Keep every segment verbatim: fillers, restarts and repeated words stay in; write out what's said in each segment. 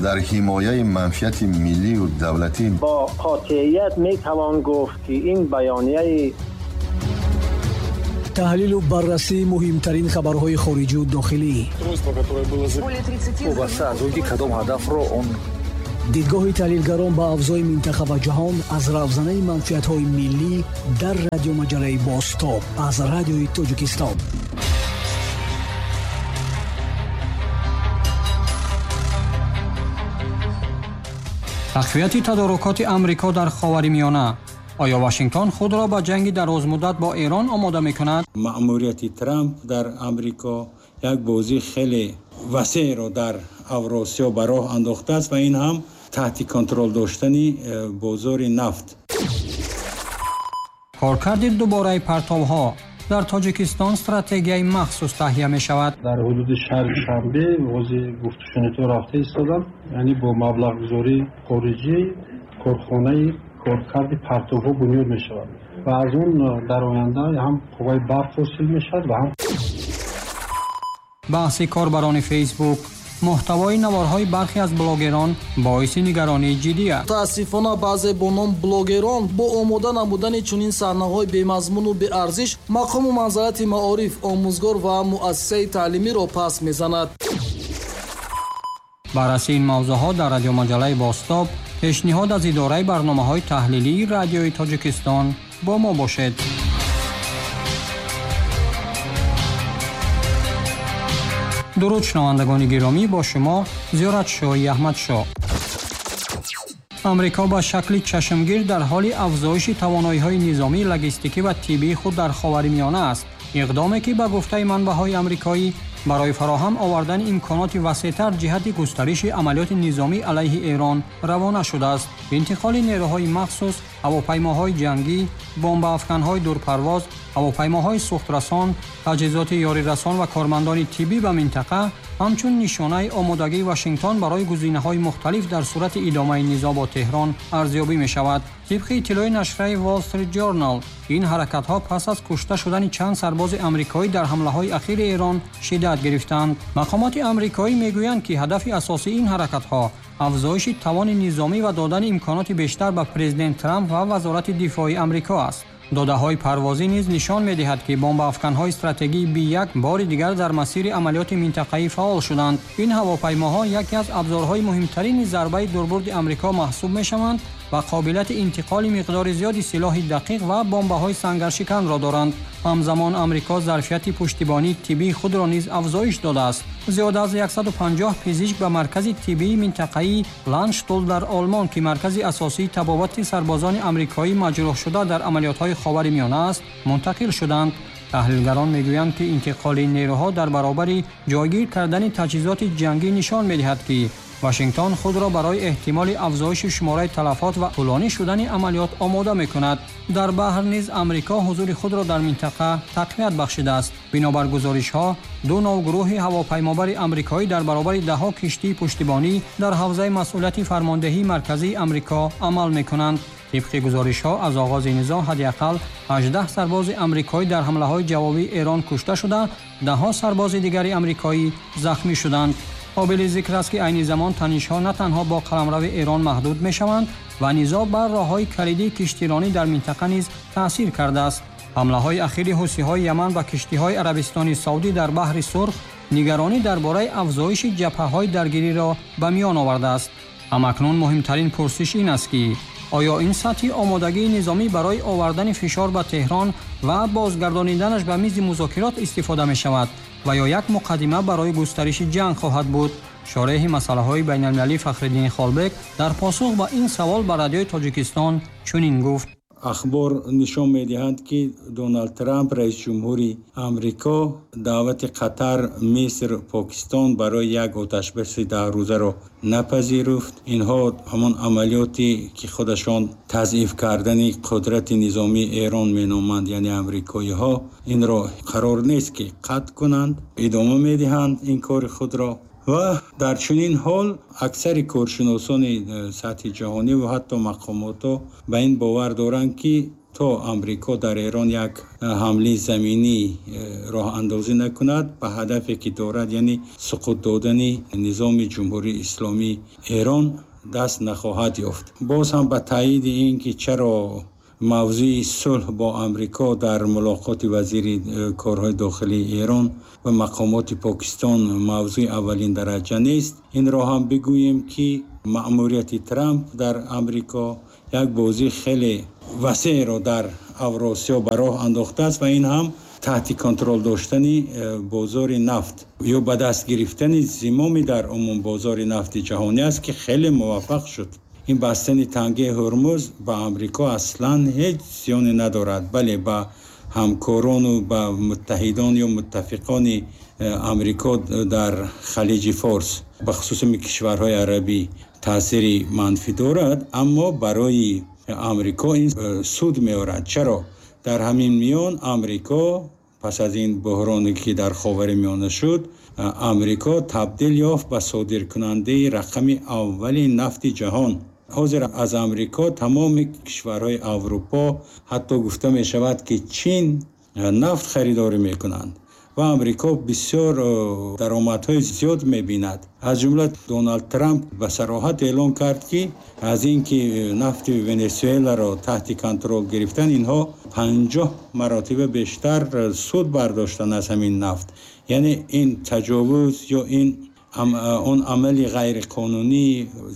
Дар ҳимояи манфиати миллию давлатӣ бо қотеият метавон гуфт, ки ин баёнияи таҳлилу баррасии муҳимтарин хабарҳои хориҷию дохилӣ, вобаста аз он ки кадом ҳадафро он дидгоҳи таҳлилгарон ба авзои минтақа ва ҷаҳон аз равзанаи манфиатҳои миллӣ дар радиомаҷалаи Бозтоб аз Радиои Тоҷикистон. Тақвияти тадорукоти Амрико дар Ховари Миёна. Оё Вашингтон худро ба ҷанги дарозмуддат бо Эрон омода мекунад? Маъмурияти Трамп дар Амрико як бозии хеле васеъро дар Авросиё ба роҳ андохтааст ва ин ҳам таҳти контрол доштани бозори нафт. Коркарди дубораи партовҳо дар Тоҷикистон стратегияи махсус таҳия мешавад. Дар ҳудуди шаҳри Душанбе оғози гуфтушунидҳо рафта истоданд, яъне бо маблағгузории хориҷӣ корхонаи коркарди партовҳо бунёд мешавад ва аз он дар оянда ҳам қувваи барқ ҳосил мешавад ва ҳам баҳси корбарони Фейсбук. Муҳтавои наворҳои бархе аз блогерон боиси нигаронии ҷиддӣ аст. Мутаассифона баъзе бо ном блогерон бо омода намудани чунин саҳнаҳои бемазмуну беарзиш мақому манзалати маориф, омӯзгор ва муассисаи таълимиро пас мезанад. Баррасии ин мавзӯъҳо дар радиомаҷалаи Бозтоб, пешниҳод аз идораи барномаҳои таҳлилии Радиои Тоҷикистон. Бо мо бошед. Дуруд шунавандагони гиромӣ, бо шумо Зиёратшоҳи Аҳмадшоҳ. Амрико ба шакли чашмгир дар ҳоли афзоиши тавоноиҳои низомӣ, логистикӣ ва тиббии худ дар Ховари Миёна аст. Иқдоме ки ба гуфтаи манбаъҳои амрикоӣ барои фароҳам овардани имконоти васеътар ҷиҳати густариши амалиёти низомӣ алайҳи Эрон равона шудааст. Интиқоли нерӯҳои махсус, ҳавопаймоҳои ҷангӣ, бомбаафканҳои дурпарвоз, ҳавопаймоҳои сӯхтрасон, таҷҳизоти ёрирасон ва кормандони тиббӣ ба минтақа ҳамчун нишонаи омодагии Вашингтон барои гузинаҳои мухталиф дар сурати идомаи низоъ бо Теҳрон арзёбӣ мешавад. Тибқи иттилои нашрияи Wall Street Journal, ин ҳаракатҳо пас аз кушта шудани чанд сарбози амрикоӣ дар ҳамлаҳои ахири Эрон шиддат гирифтанд. Мақомоти амрикоӣ мегӯянд, ки ҳадафи асосии ин ҳаракатҳо афзоиши тавони низомӣ ва додани имконоти бештар ба президент Трамп ва Вазорати дифои Амрико аст. Додаҳои парвозӣ низ нишон медиҳад, ки бомбаафканҳои стратегии Би як бори дигар дар масири амалиёти минтақаӣ фаъол шуданд. Ин ҳавопаймоҳо яке аз абзорҳои муҳимтарини зарбаи дурбурди Амрико маҳсуб мешаванд ва қобилияти интиқоли миқдори зиёди силоҳи дақиқ ва бомбаҳои сангаршиканро доранд. Ҳамзамон Амрико зарфияти пуштибонии тиббии худро низ афзоиш додааст. Зиёда аз яксаду панҷоҳ пизишк ба маркази тиббии минтақаии Ландштул дар Олмон, ки маркази асосии табобати сарбозони амрикоӣ маҷрӯҳшуда дар амалиётҳои Ховари Миёна аст, мунтақил шуданд. Таҳлилгарон мегӯянд, ки интиқоли нерӯҳо дар баробари ҷойгир кардани таҷҳизоти ҷангӣ нишон медиҳад, ки Вашингтон худро барои эҳтимоли афзоиши шумораи талафот ва тӯлонӣ шудани амалиёт омода мекунад. Дар баҳр низ Амрико ҳузури худро дар минтақа тақвият бахшидааст. Бинобар гузоришҳо, ду нав гурӯҳи ҳавопаймобари амрикоӣ дар баробари даҳҳо киштии пуштибонӣ дар ҳавзаи масъулияти фармондеҳии марказии Амрико амал мекунанд. Тибқи гузоришҳо, аз оғози низоъ ҳадди ақал ҳаждаҳ сарбози амрикоӣ дар ҳамлаҳои ҷавобии Эрон кушта шуда, даҳҳо сарбози дигари амрикоӣ захмӣ шуданд. Қобили зикр аст, ки айни замон танишҳо на танҳо бо қаламрави Эрон маҳдуд мешаванд ва низоъ бар роҳҳои калидии киштиронӣ дар минтақа низ таъсир кардааст. Ҳамлаҳои ахири ҳусиҳои Яман ба киштиҳои Арабистони Саудӣ дар баҳри Сурх нигаронӣ дар бораи афзоиши ҷабҳаҳои даргириро ба миён овардааст. Ҳамакнун муҳимтарин пурсиш ин аст, ки оё ин сатҳи омодагии низомӣ барои овардани фишор ба Теҳрон ва бозгардониданаш ба мизи музокирот истифода мешавад ва ё як муқаддима барои густариши ҷанг хоҳад буд? Шореҳи масъалаҳои байналмилалӣ Фахриддин Холбек дар посух ба ин савол ба Радиои Тоҷикистон чунин гуфт. Ахбор нишон медиҳанд, ки Доналд Трамп, раиси ҷумҳури Амрико, даъвати Қатар, Миср, Покистон барои як оташбаси даҳрӯзаро напазируфт. Инҳо ҳамон амалиёте ки худашон тазъиф кардани қудрати низомии Эрон меноманд, яъне амрикоиҳо, инро қарор нест ки қатъ кунанд, идома медиҳанд ин кори худро. Ва дар чунин ҳол аксари коршиносони сатҳи ҷаҳонӣ ва ҳатто мақомотҳо ба ин бовар доранд, ки То Амрико дар Эрон як ҳамлаи заминӣ роҳандозӣ накунад ба ҳадафе ки дорад, яъне суқут додани низоми Ҷумҳурии Исломии Эрон, даст нахоҳад ёфт. Боз ҳам ба таъйиди ин ки чаро мавзӯи сулҳ бо Амрико дар мулоқоти вазири корҳои дохилии Эрон ва мақомоти Покистон мавзӯи аввалин дараҷа нест, инро ҳам бигӯем ки маъмурияти Трамп дар Амрико як бозии хеле васеъро дар Авросиё ба роҳ андохтааст ва ин ҳам таҳти контрол доштани бозори нафт ё ба даст гирифтани зимоми дар умум бозори нафти ҷаҳонӣ аст ки хеле муваффақ шуд. Ин бастани тангаи Ҳурмуз ба Амрико аслан ҳеҷ зиёне надорад, бале ба ҳамкорону ба муттаҳидон ё муттафиқони Амрико дар Халиҷи Форс, ба хусус кишварҳои арабӣ таъсири манфӣ дорад, аммо барои Амрико ин суд меорад. Чаро? Дар ҳамин миён Амрико пас аз ин буҳроне ки дар Ховари Миёна шуд, Амрико табдил ёфт ба содиркунандаи рақами аввали нафти ҷаҳон. Ҳозир аз Амрико тамоми кишварҳои Аврупо, ҳатто гуфта мешавад ки Чин нафт харидорӣ мекунанд ва Амрико бисёр даромадҳои зиёд мебинад. Аз ҷумла Доналд Трамп ба сароҳат эълон кард ки аз ин ки нафти Венесуэларо таҳти контрол гирифтан, инҳо панҷоҳ маротиба бештар суд бардоштанд аз ҳамин нафт. Яъне ин таҷовуз ё ин он амали ғайриқонунӣ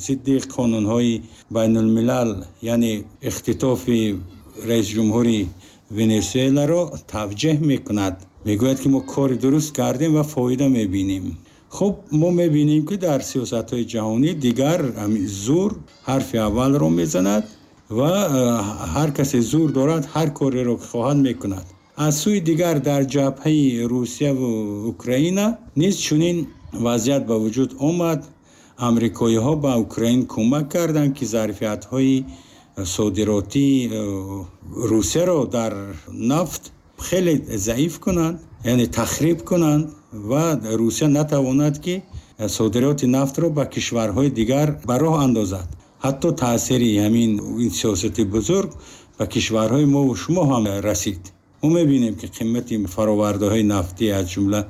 зидди қонунҳои байнулмилал, яъне ихтитофи раисҷумҳури Венесуэларо тавҷеҳ мекунад. Мегӯяд ки мо кори дуруст кардем ва фоида мебинем. Хуб, мо мебинем ки дар сиёсатҳои ҷаҳонӣ дигар зур ҳарфи аввалро мезанад ва ҳар касе зур дорад ҳар кореро ки хоҳад мекунад. Аз сӯи дигар дар ҷабҳаи Русия ва Украина низ чунин вазъият ба вуҷуд омад. Амрикоиҳо ба Украин кӯмак карданд ки зарфиятҳои содиротии Русияро дар нафт хеле заиф кунанд, яъне тахриб кунанд ва Русия натавонад ки содироти нафтро ба кишварҳои дигар ба роҳ андозад. Ҳатто таъсири ҳамин ин сиёсати бузург ба кишварҳои мо ва шумо ҳам расид. Мо мебинем ки қимати фаровардаҳои нафтӣ аз ҷумла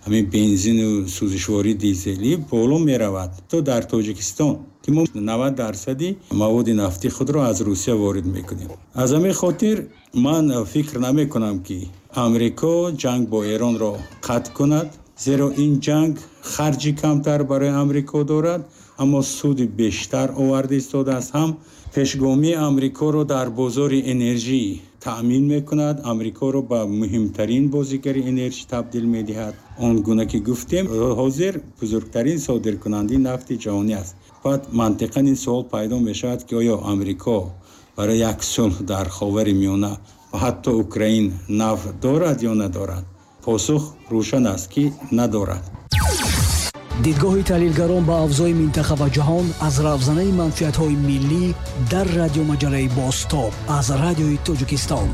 ҳамин бензину сӯзишвории дизелӣ боло меравад. То дар Тоҷикистон ки мо навад дарсади маводи нафтӣ худро аз Русия ворид мекунем. Аз ҳамин хотир ман фикр намекунам ки Амрико ҷанг бо Эронро қатъ кунад, зеро ин ҷанг харҷи камтар барои Амрико дорад, аммо суди бештар оварда истодааст. Ҳам пешгомии Амрикоро дар бозори энержӣ таъмин мекунад, Амрикоро ба муҳимтарин бозигари энержӣ табдил медиҳад. Он гуна ки гуфтем, ҳозир бузургтарин содиркунандаи нафти ҷаҳонӣ аст. Баъд мантиқан ин суол пайдо мешавад ки оё Амрико барои як сулҳ дар Ховари Миёна ва ҳатто Украин нафт дорад ё надорад? Посух рӯшан аст ки надорад. Дидгоҳи таҳлилгарон ба авзои минтақа ва ҷаҳон аз равзанаи манфиатҳои миллӣ дар радиомаҷалаи Бозтоб аз Радиои Тоҷикистон.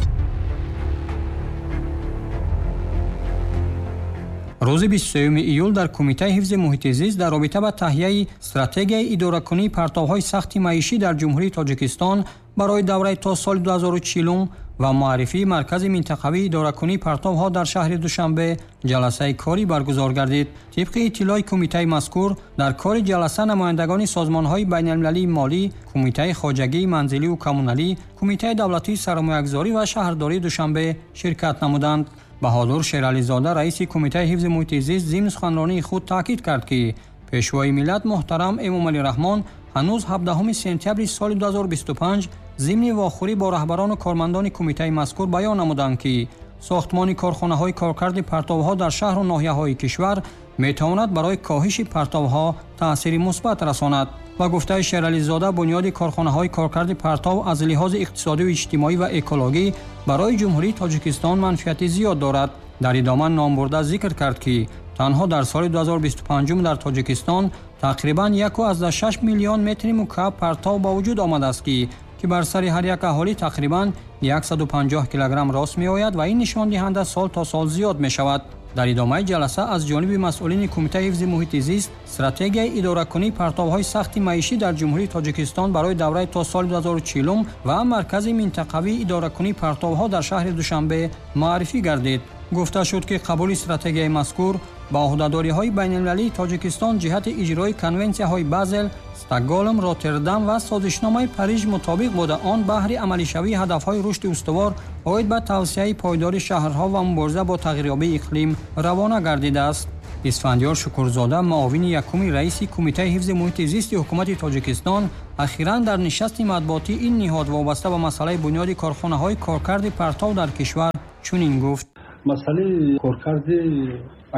Рӯзи бисту сеюми июл дар Кумитаи ҳифзи муҳити зист дар робита ба таҳияи стратегияи идоракунии партовҳои сахти маишӣ дар Ҷумҳурии Тоҷикистон барои давраи то соли ду ҳазору чилум ва муаррифии маркази минтақавии идоракунии партовҳо дар шаҳри Душанбе ҷаласаи корӣ баргузор гардид. Тибқи иттилои кумитаи мазкур, дар кори ҷаласа намояндагони созмонҳои байналмилалии молӣ, Кумитаи хоҷагии манзилию коммуналӣ, Кумитаи давлатии сармоягузорӣ ва шаҳрдории Душанбе ширкат намуданд. Баҳодур Шерализода, раиси Кумитаи ҳифзи муҳити зист, зимни суханронии худ таъкид кард, ки пешвои миллат муҳтарам Эмомалӣ Раҳмон ҳанӯз ҳабдаҳуми сентябри соли ду ҳазору бисту панҷ зимни вохӯрӣ бо раҳбарону кормандони кумитаи мазкур баён намуданд, ки сохтмони корхонаҳои коркарди партовҳо дар шаҳру ноҳияҳои кишвар метавонад барои коҳиши партовҳо таъсири мусбат расонад. Ба гуфтаи Шерализода, бунёди корхонаҳои коркарди партов аз лиҳози иқтисодию иҷтимоӣ ва экологӣ барои Ҷумҳурии Тоҷикистон манфиати зиёд дорад. Дар идома номбурда зикр кард, ки танҳо дар соли ду ҳазору бисту панҷум дар Тоҷикистон тақрибан як аз шаш миллион метри мукааб партов ба вуҷуд омадааст, ки ки бар сари ҳар як аҳолӣ тақрибан яксаду панҷоҳ килограмм рост меояд ва ин нишондиҳанда сол то сол зиёд мешавад. Дар идомаи ҷаласа аз ҷониби масъулини Кумитаи ҳифзи муҳити зист стратегияи идоракунии партовҳои сахти маишӣ дар Ҷумҳурии Тоҷикистон барои давраи то соли ду ҳазору чилум ва Маркази минтақавии идоракунии партовҳо дар шаҳри Душанбе муаррифӣ гардид. Гуфта шуд, ки қабули стратегияи мазкур ба ӯҳдадориҳои байналмилалии Тоҷикистон ҷиҳати иҷрои конвенсияҳои Базел, Стокголм, Роттердам ва созишномаи Париж мутобиқ буда, он баҳри амалишавии ҳадафҳои рушди устувор оид ба тавсеаи пойдори шаҳрҳо ва мубориза бо тағйирёбии иқлим равона гардидааст. Исфандиёр Шукурзода, муовини якуми раиси Кумитаи ҳифзи муҳити зисти ҳукумати Тоҷикистон, ахиран дар нишасти матбуотии ин ниҳод вобаста ба масъалаи бунёди корхонаҳои коркарди партов дар кишвар чунин гуфт. Масъалаи коркарди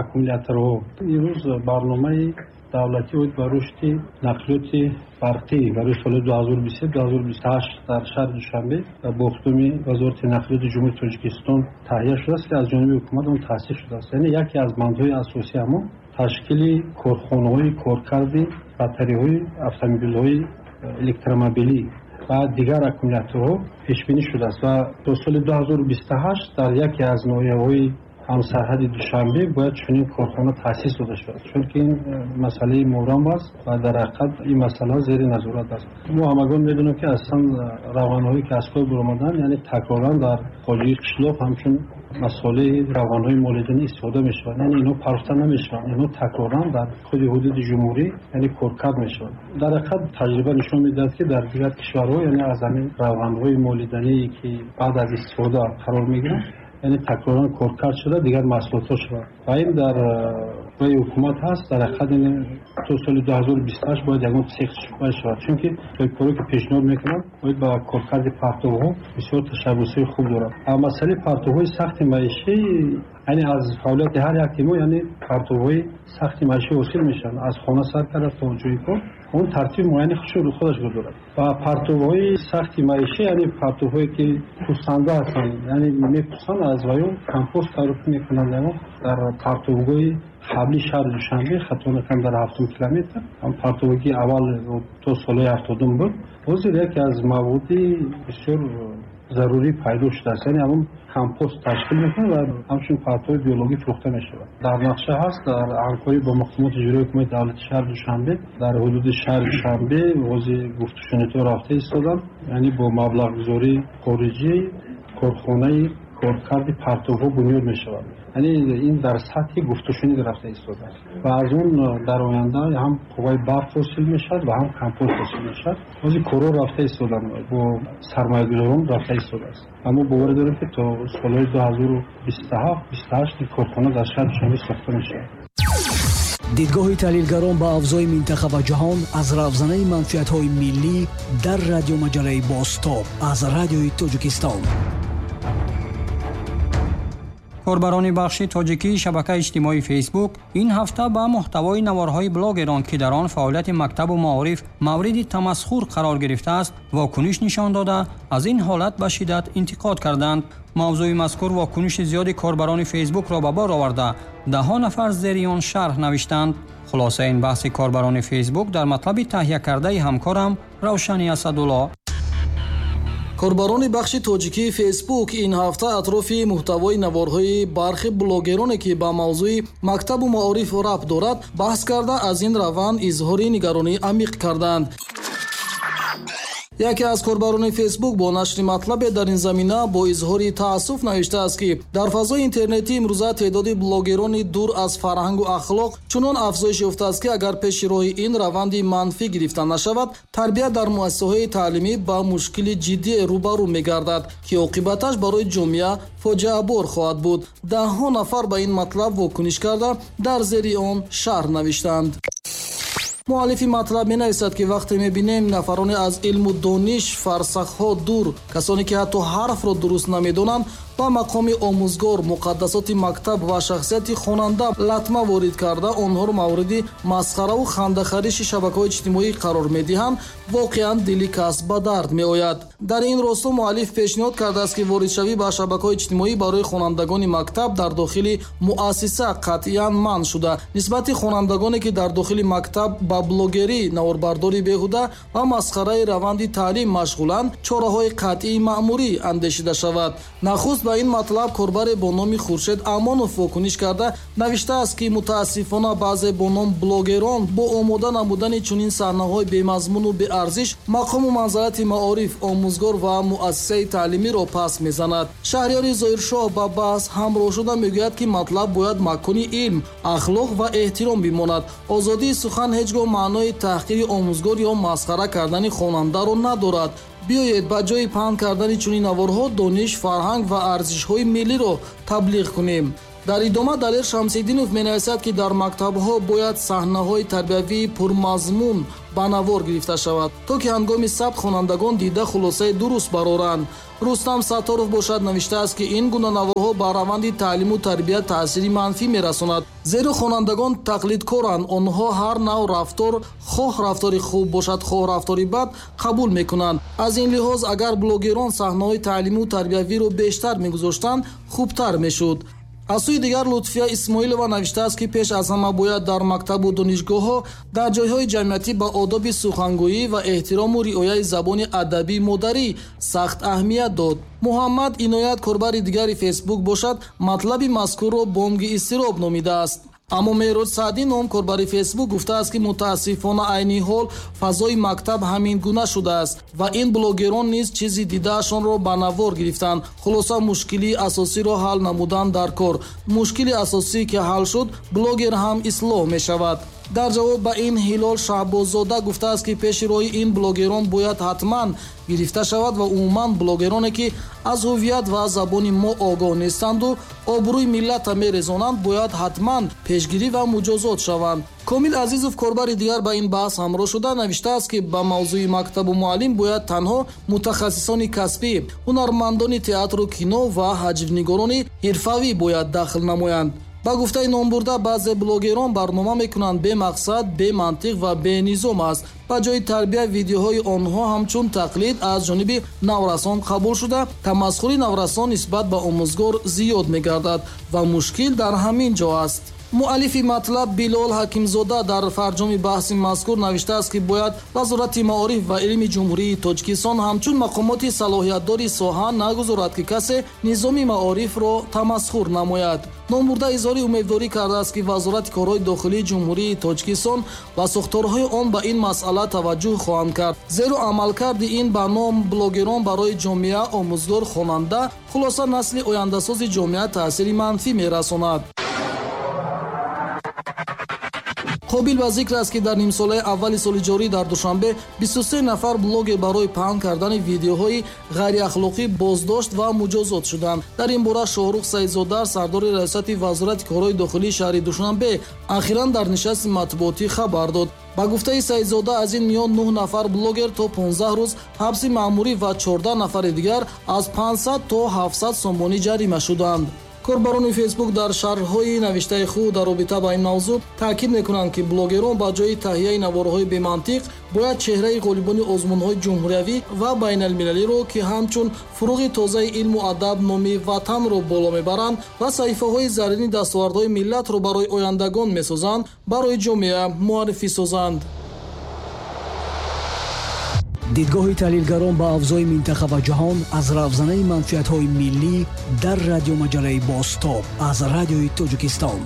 аккумуляторҳо имрӯз барномаи давлатӣ оид ба рушди нақлиёти барқӣ барои соли ду ҳазору бисту ду ҳазору бисту ҳашт дар шаҳри Душанбе бо иқдоми Вазорати нақлиёти Ҷумҳурии Тоҷикистон таҳия шудааст, ки аз ҷониби ҳукумат он таъсис шудааст. Яъне яке аз бандҳои асосии ҳамон ташкили корхонаҳои коркарди батареяҳои автомобилҳои электромобилӣ ва дигар аккумуляторҳо пешбинӣ шудааст ва то соли ду ҳазору бисту ҳашт дар яке аз ноҳияҳои ҳамсарҳади Душанбе бояд чунин корхона таъсис дода шавад, чунки ин масъалаи мурам аст ва дар ҳақиқат ин масъала зери назорат аст. Мо ҳамагон медонем, ки аслан равғанҳое ки аз кор баромаданд, яъне такроран дар хоҷагии қишлоқ ҳамчун масолеҳи равғанҳои молиданӣ истифода мешаванд, яъне инҳо парохта намешаванд, инҳо такроран дар худи ҳудуди ҷумҳурӣ яъне коркард мешаванд. Дар ҳақиқат таҷриба нишон медиҳад, ки дар дигар кишварҳо яъне аз ҳамин равғанҳои молиданӣ ки баъд аз истифода қарор мегиранд, яъне такроран коркард шуда дигар маҳсулотҳо шаванд ва ин дар рои ҳукумат ҳаст. Дар ҳақиқат ин то соли ду ҳазору бисту ҳашт бояд ягон цех шавад, чунки соҳибкоре ки пешниҳод мекунанд бояд ба коркарди партовҳо бисёр ташаббусҳои хуб доранд. Масъалаи партовҳои сахти маишӣ, яъне аз фаъолияти ҳар яке мо яъне партовҳои сахти маишӣ ҳосил мешаванд, аз хона сар карда то ҷои кор, он тартиби муайяни худшо худашро дорад ва партовҳои сахти маишӣ, яъне партовҳое ки пӯсанда ҳастанд, яъне мепӯсанд, аз ваё компост тайёр мекунанд. Дар партовгоҳи қабли шаҳри Душанбе, хато накунам дар ҳафтум километр, ҳам партовгоҳи аввал то солҳои ҳафтодум буд, ҳозир яке аз маводи бисёр зарурӣ пайдо шудааст, яъне ҳамон компост ташкил мекунад ва ҳамчун партови биологӣ фурӯхта мешавад. Дар нақша ҳаст дар ҳамкорӣ бо мақомоти иҷроии ҳукумати давлати шаҳри Душанбе дар ҳудуди шаҳри Душанбе ҳозир гуфтушунидҳо рафта истоданд, яъне бо маблағгузории хориҷӣ корхонаи коркарди партовҳо бунёд мешавад. Яъне ин дар сатҳи гуфтушунид рафта истодааст ва аз он дар оянда ҳам қувваи барқ ҳосил мешавад ва ҳам компост ҳосил мешавад. Ҳозир корҳо рафта истоданд, бо сармоягузорон рафта истодааст. Аммо боварӣ дорем, ки то солҳои ду ҳазору бисту ҳафт бисту ҳашт ин корхона дар шаҳри Душанбе сохта мешавад. Дидгоҳи таҳлилгарон ба авзои минтақа ва ҷаҳон аз равзанаи манфиатҳои миллӣ дар радиомаҷалаи Бозтоб аз Радиои Тоҷикистон. Корбарони бахши тоҷикии шабакаи иҷтимоии Фейсбук ин ҳафта ба муҳтавои наворҳои блогерон, ки дар он фаъолияти мактабу маориф мавриди тамасхур қарор гирифтааст, вокуниш нишон дода, аз ин ҳолат ба шиддат интиқод карданд. Мавзӯи мазкур вокуниши зиёди корбарони Фейсбукро ба бор оварда, даҳҳо нафар зери он шарҳ навиштанд. Хулосаи ин баҳси корбарони Фейсбук дар матлаби таҳия кардаи ҳамкорам Равшани Асадулло. Корбарони бахши тоҷикии Фейсбук ин ҳафта атрофи муҳтавои наворҳои бархи блогероне, ки ба мавзӯи мактабу маориф рабт дорад, баҳс карда, аз ин раванд изҳори нигаронии амиқ карданд. Яке аз корбарони Фейсбук бо нашри матлабе дар ин замина бо изҳори таассуф навиштааст, ки дар фазои интернетӣ имрӯза теъдоди блогерони дур аз фарҳангу ахлоқ чунон афзоиш ёфтааст, ки агар пеши роҳи ин раванди манфӣ гирифта нашавад, тарбия дар муассисаҳои таълимӣ ба мушкили ҷиддие рӯбарӯ мегардад, ки оқибаташ барои ҷомеа фоҷиабор хоҳад буд. Даҳҳо нафар ба ин матлаб вокуниш карда, дар зери он шарҳ навиштанд. Муаллифи матлаб менависад, ки вақте мебинем нафароне аз илму дониш фарсахҳо дур, касоне ки ҳатто ҳарфро дуруст намедонанд, ба мақоми омӯзгор, муқаддасоти мактаб ва шахсияти хонанда латма ворид карда, онҳоро мавриди масхараву хандахариши шабакаҳои иҷтимоӣ қарор медиҳанд, воқеан дили кас ба дард меояд. Дар ин росто муаллиф пешниҳод кардааст, ки воридшавӣ ба шабакаҳои иҷтимоӣ барои хонандагони мактаб дар дохили муассиса қатъиян манъ шуда, нисбати хонандагоне ки дар дохили мактаб ба блогерӣ, наворбардории беҳуда ва масхараи раванди таълим машғуланд, чораҳои қатъии маъмурӣ андешида шавад. Нахуст Ба ин матлаб корбаре бо номи Хуршед Амонов вокуниш карда навиштааст, ки мутаассифона баъзе бо ном блогерон бо омода намудани чунин саҳнаҳои бемазмуну беарзиш мақому манзалати маориф, омӯзгор ва муассисаи таълимиро пас мезанад. Шаҳриёри Зоҳиршоҳ ба баҳс ҳамроҳ шуда мегӯяд, ки матлаб бояд макони илм, ахлоқ ва эҳтиром бимонад. Озодии сухан ҳеҷ гоҳ маънои таҳқири омӯзгор ё масхара кардани хонандаро надорад. Биёед ба ҷои паҳн кардани чунин наворҳо дониш, фарҳанг ва арзишҳои миллиро таблиғ кунем. Дар идома Далер Шамсиддинов менависад, ки дар мактабҳо бояд саҳнаҳои тарбиявии пурмазмун ба навор гирифта шавад, то ки ҳангоми сабт хонандагон дида хулосаи дуруст бароранд. Рустам Сатторов бошад навиштааст, ки ин гуна наворҳо ба раванди таълиму тарбия таъсири манфӣ мерасонад, зеро хонандагон тақлидкоранд. Онҳо ҳар нав рафтор, хоҳ рафтори хуб бошад, хоҳ рафтори бад, қабул мекунанд. Аз ин лиҳоз агар блогерон саҳнаҳои таълиму тарбиявиро бештар мегузоштанд, хубтар мешуд. Аз сӯи дигар Лутфия Исмоилова навиштааст, ки пеш аз ҳама бояд дар мактабу донишгоҳҳо, дар ҷойҳои ҷамъиятӣ ба одоби сухангӯӣ ва эҳтирому риояи забони адабии модарӣ сахт аҳамият дод. Муҳаммад Иноят, корбари дигари Фейсбук бошад, матлаби мазкурро бонги изтироб номидааст. Аммо Меҳрод Саъдӣ ном корбари Фейсбук гуфтааст, ки мутаассифона айни ҳол фазои мактаб ҳамин гуна шудааст ва ин блогерон низ чизи дидаашонро ба навор гирифтанд. Хулоса, мушкилии асосиро ҳал намудан дар кор. Мушкили асосӣ ки ҳал шуд, блогер ҳам ислоҳ мешавад. Дар ҷавоб ба ин Ҳилол Шаҳбоззода гуфтааст, ки пеши роҳи ин блогерон бояд ҳатман гирифта шавад ва умуман блогероне, ки аз ҳувият ва забони мо огоҳ нестанду обрӯи миллатро мерезонанд, бояд ҳатман пешгирӣ ва муҷозот шаванд. Комил Азизов, корбари дигар, ба ин баҳс ҳамроҳ шуда навиштааст, ки ба мавзӯи мактабу муаллим бояд танҳо мутахассисони касбӣ, ҳунармандони театру кино ва ҳаҷвнигорони ҳирфавӣ бояд дахл намоянд. Ба гуфтаи номбурда, баъзе блогерон барнома мекунанд бемақсад, бемантиқ ва бенизом аст. Ба ҷои тарбия видеоҳои онҳо ҳамчун тақлид аз ҷониби наврасон қабул шуда, тамасхури наврасон нисбат ба омӯзгор зиёд мегардад ва мушкил дар ҳамин ҷо аст. Муаллифи матлаб Билол Ҳакимзода дар фарҷоми баҳси мазкур навиштааст, ки бояд Вазорати маориф ва илми Ҷумҳурии Тоҷикистон ҳамчун мақомоти салоҳиятдори соҳа нагузорад, ки касе низоми маорифро тамасхур намояд. Номбурда изҳори умедворӣ кардааст, ки Вазорати корҳои дохилии Ҷумҳурии Тоҷикистон ва сохторҳои он ба ин масъала таваҷҷӯҳ хоҳанд кард, зеро амалкарди ин ба ном блогерон барои ҷомеа, омӯзгор, хонанда, хулоса насли ояндасози ҷомеа таъсири манфӣ мерасонад. Қобил ба зикр аст, ки дар нимсолаи аввали соли ҷорӣ дар Душанбе бисту се нафар блогер барои паҳн кардани видеоҳои ғайриахлоқӣ боздошт ва муҷозот шуданд. Дар ин бора Шоҳрух Саидзода, сардори раёсати Вазорати корҳои дохилии шаҳри Душанбе, ахиран дар нишасти матбуотӣ хабар дод. Ба гуфтаи Саидзода, аз ин миён нӯҳ нафар блогер то понздаҳ рӯз ҳабси маъмурӣ ва чордаҳ нафари дигар аз панҷсад то ҳафтсад сомонӣ ҷарима шуданд. Корбарони Фейсбук дар шарҳҳои навиштаи худ дар робита ба ин мавзӯъ таъкид мекунанд, ки блогерон ба ҷои таҳияи наворҳои бемантиқ бояд чеҳраи ғолибони озмунҳои ҷумҳуриявӣ ва байналмилалиро, ки ҳамчун фуруғи тозаи илму адаб номи ватанро боло мебаранд ва саҳифаҳои заррини дастовардҳои миллатро барои ояндагон месозанд, барои ҷомеа муаррифӣ созанд. Дидгоҳи таҳлилгарон ба авзои минтақа ва ҷаҳон аз равзанаи манфиатҳои миллӣ дар радиомаҷалаи Бозтоб аз Радиои Тоҷикистон.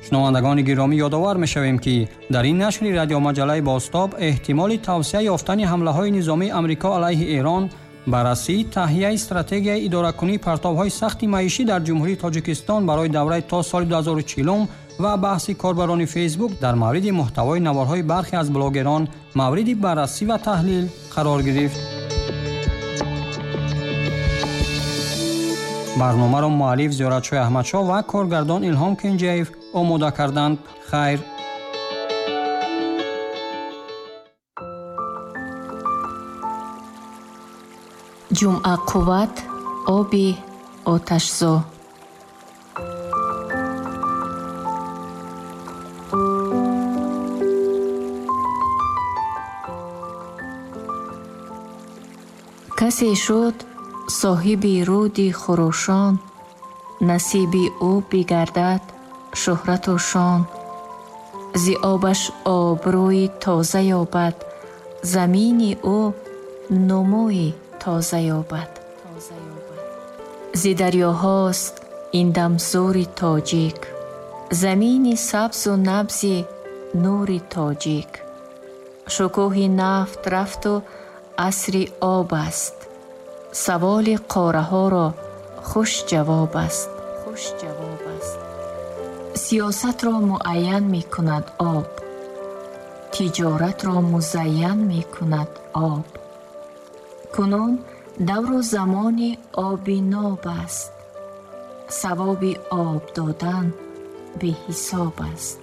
Шунавандагони гиромӣ, ёдовар мешавем, ки дар ин нашри радиомаҷалаи Бозтоб эҳтимоли тавсия ёфтани ҳамлаҳои низомии Амрико алайҳи Эрон, баррасии таҳияи стратегияи идоракунии партовҳои сахти маишӣ дар Ҷумҳурии Тоҷикистон барои давраи то соли ду ҳазору чилум ва баҳси корбарони Фейсбук дар мавриди муҳтавои наворҳои бархе аз блогерон мавриди баррасӣ ва таҳлил қарор гирифт. Барномаро муаллиф Зиёратшоҳ Аҳмадшоҳ ва коргардон Илҳом Кенҷаев омода карданд. Хайр. Ҷумъа қувват, оби оташзо. Касе шуд соҳиби руди хурӯшон, насиби ӯ бигардад шӯҳрату шон. Зи обаш обрӯи тоза ёбад, замини ӯ нумӯи тоза ёбад. Зи дарёҳост ин дам зури тоҷик, замини сабзу набзи нури тоҷик. Шукӯҳи нафт рафту асри об аст, саволи қораҳоро хуш ҷавоб аст. Сиёсатро муайян мекунад об, тиҷоратро музайян мекунад об. Кунун давру замони оби ноб аст, савоби об додан беҳисоб аст.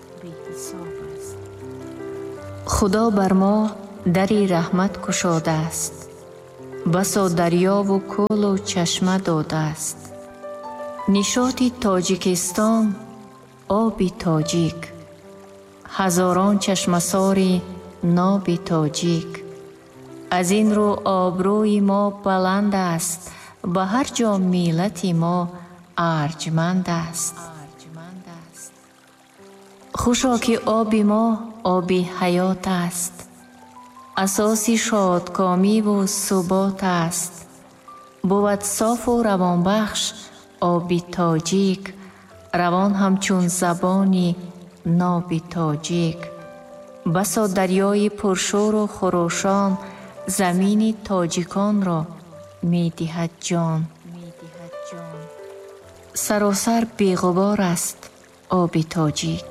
Худо бар мо дари раҳмат кушодааст, басо дарёву кӯлу чашма додааст. Нишоти Тоҷикистон оби тоҷик, ҳазорон чашмасори ноби тоҷик. Аз ин рӯ обрӯи мо баланд аст, ба ҳар ҷо миллати мо арҷманд аст. Хушо ки оби мо оби ҳаёт аст, асоси шодкомиву субот аст. Бувад софу равонбахш оби тоҷик, равон ҳамчун забони ноби тоҷик. Басо дарёи пуршӯру хурӯшон замини тоҷиконро медиҳад ҷон. Саросар беғубор аст оби тоҷик,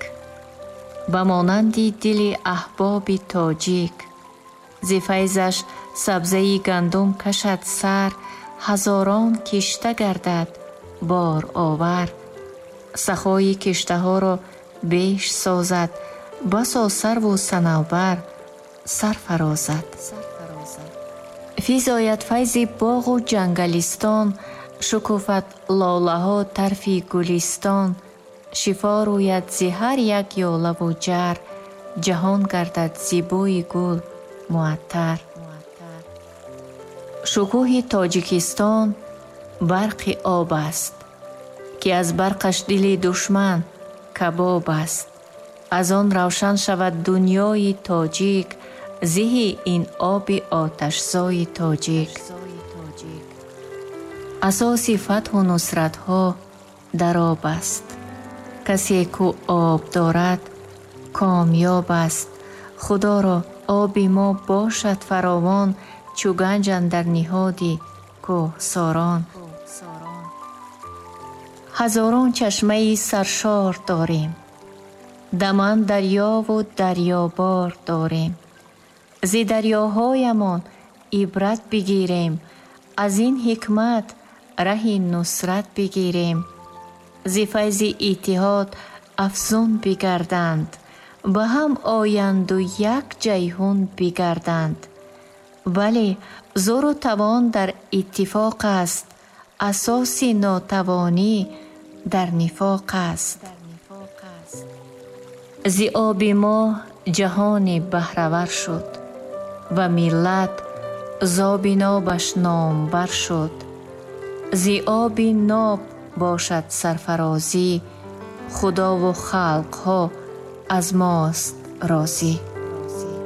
ба монанди дили аҳбоби тоҷик. Зи файзаш сабзаи гандум кашад сар, ҳазорон кишта гардад боровар. Сахои киштаҳоро беш созад, басо сарву санавбар сар фарозад. Физояд файзи боғу ҷангалистон, шукуфад лолаҳо тарфи гулистон. Шифо рӯяд зи ҳар як ёлаву ҷар, ҷаҳон гардад зи бӯи гул муаттар. Шукӯҳи Тоҷикистон барқи об аст, ки аз барқаш дили душман кабоб аст. Аз он равшан шавад дунёи тоҷик, зиҳи ин оби оташзои тоҷик. Асоси фатҳу нусратҳо дар об аст, касе ку об дорад комёб аст. Худоро оби мо бошад фаровон, чу ганҷ андар ниҳоди кӯҳсорон. Ҳазорон чашмаи саршор дорем, даман дарёву дарёбор дорем. Зи дарёҳоямон ибрат бигирем, аз ин ҳикмат раҳи нусрат бигирем. Зи файзи иттиҳод афзун бигарданд, ба ҳам оянду як ҷайҳун бигарданд. Вале зӯру тавон дар иттифоқ аст, асоси нотавонӣ дар нифоқ аст. Зи оби мо ҷаҳоне баҳравар шуд ва миллат зоби нобаш номбар шуд. Зи оби ноб бошад сарфарозӣ, худову халқҳо аз мост розӣ.